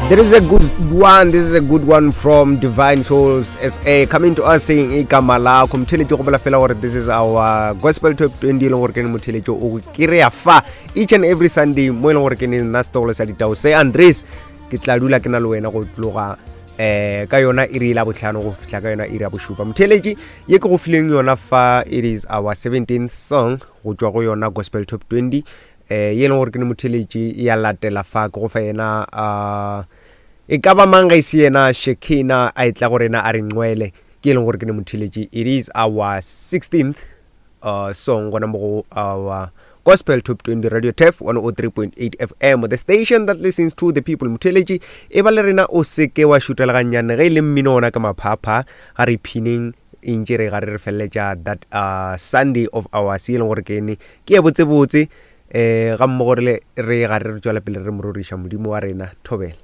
There is a good one. This is a good one from Divine Souls SA coming to us saying igama lakho mtheletši go bola fela gore this is our gospel top 20 e leng gore ke ne motheletši o kry-a fa each and every Sunday mo e leng gore ke ne nna setogolo sa ditao se Andres ke tla dula ke na le wena go tloga eh ka yona iri la botlhano go fihla ka yona iri ya bošupa motheletši ye ke go fileng yona fa it is our 17th song go tšwa go yona gospel top 20 eh ye e leng gore ke ne motheletši ya latela fa ke go fa yena uh, e ka ba mang ga ise yena shekina a e tla go rena a re nqwele ke e leng gore ke ne motheletši it is our 16th uh, song gona mo go our gospel top 20 radio tef 103.8 fm the station that listens to the people motheletši e ba le rena o seke wa šutela gannyane ge e le mmino ona ka maphapha ga re phineng e ntše re gare re feleletša that uh, sunday of our se e leng gore ke ene ke ye botsebotse um ga mmogo re re gare re tswela pele re mororiša modimo wa rena thobela.